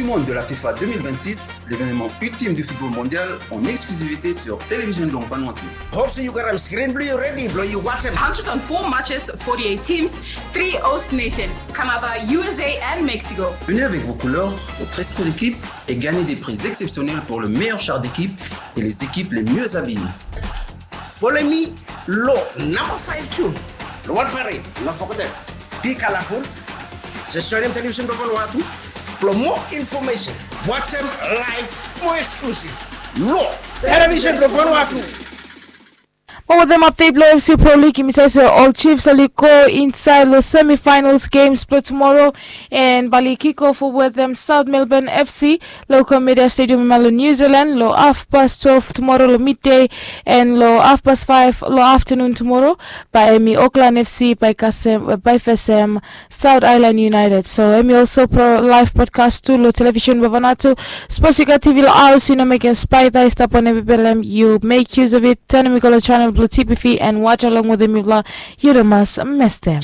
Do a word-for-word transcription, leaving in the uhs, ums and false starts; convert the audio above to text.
Monde de la FIFA deux mille vingt-six, l'événement ultime du football mondial en exclusivité sur Télévision Blong Vanuatu. Hope se yu gat am screen blong yu redi blong yu wajem. Hundred and four matches, forty-eight teams, three host nation, Canada, U S A and Mexico. Venez avec vos couleurs, votre esprit d'équipe et gagnez des prix exceptionnels pour le meilleur char d'équipe et les équipes les mieux habillées. Follow me long namba five tu long wan parade. No fogetem. Be colorful. Just join dem Television Blong Vanuatu. Blong more information, wajem live, more exclusive long Television Blong Vanuatu. Mo wetem update blong F C Pro League, yumi save se ol Chiefs oli go insaed long semifinals games blong tumoro, and bae oli kick off wetem South Melbourne F C long Comedia Stadium hemia long New Zealand long hafpas twelve tumoro long midday, and long hafpas faef long aftanun tumoro bae hemi Auckland F C bae kasem, bae fesem South Island United. So hemi also pro live broadcast tu long Television Blong Vanuatu. Sapos yu gat T V long haos, yu no mekem spaeta, yu stap wantem belem, yu make use of it, tanem i go long channel blong T P V and watch along wetem mifala. Yu no mas mestem.